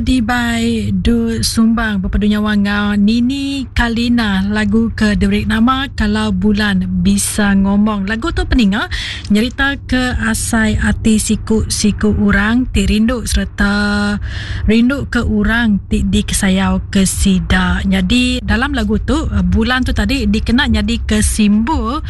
Dibai Du Sumbang bepadu nyawa enggau Nini Kalina lagu ke diberi nama Kalau Bulan Bisa Ngomong. Lagu tu peninga nyerita ke asai ati siku-siku orang ti rindu sereta rindu ke orang ti dikesayau ke sida. Nyadi dalam lagu tu bulan tu tadi dikena nyadi ke simbol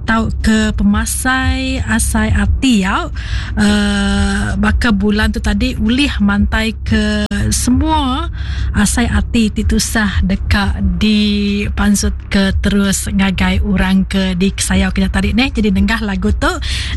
tauka pemasai asai ati au. uhh baka bulan tu tadi ulih mantai ke semua asai ati ti tusah deka dipansut ke terus ngagai orang ke dikesayau ke nya tadi neh. Jadi nengah lagu tu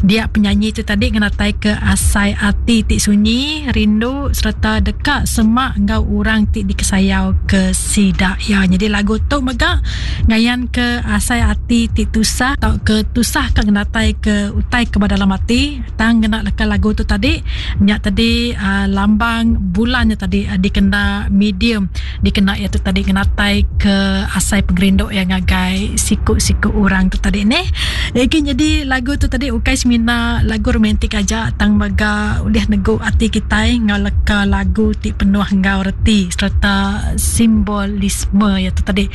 dia penyanyi tu tadi ngenatai ke asai ati ti sunyi rindu sereta deka semak enggau orang ti dikesayau ke sida iya. Jadi lagu tu mega ngayan ke asai ati ti tusah tauka tusah ka ngenatai ke utai ke ba dalam ati tang ngena leka lagu tu tadi nya tadi uhh lambang bulan nya tadi dikena medium dikena iya tu tadi ngenatai ke asai pengerindu iya ngagai siku siku orang tu tadi neh. Agi nyadi lagu tu tadi ukai semina lagu romantik aja tang mega ulih negu ati kitai enggau leka lagu ti penuh enggau reti sereta simbolisme iya tu tadi.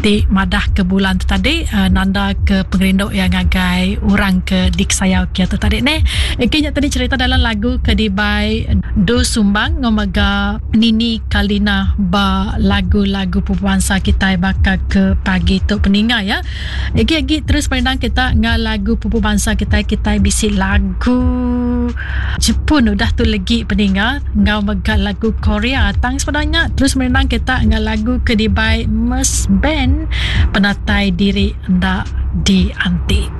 Ti madah ke bulan tu tadi nanda ke pengerindu iya ngagai orang ke dikesayau ke tu tadi neh. Egi nya tadi cerita dalam lagu ke dibai Du Sumbang enggau mega Nini Kalina ba lagu-lagu pupu bansa kitai baka ke pagi tu peninga ya. Egi agi terus perindang kita enggau lagu pupu bansa kitai kitai bisi lagu Jepun udah tu legi peninga enggau mega lagu Korea tang sebedau nya terus merindang kita enggau lagu ke dibai Mes Band penatai diri enda dianti.